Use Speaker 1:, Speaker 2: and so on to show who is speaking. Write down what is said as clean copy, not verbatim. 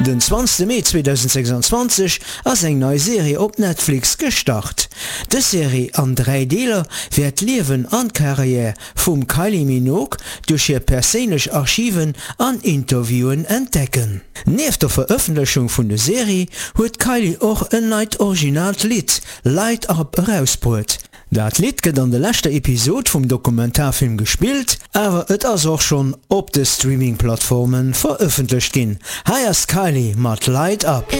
Speaker 1: Den 20 Mee 2026 ass eng nei Serie op Netflix gestart. Dës Serie an 3 Deeler wäert d'Liewen an d'Karriär vum Kylie Minogue duerch hir perséinlech Archiven an Interviewen entdecken. Nieft der Verëffentlechung vun de Serie huet d'Kylie och en neit originaalt Lidd, Light Up, erausbruet. Dat Lidd gëtt an de leschter Episod vum Dokumentarfilm gespillt, awer et ass och schonn op de Streaming-Plattforme verëffentlecht ginn. Hei ass d'Kylie mat Light Up.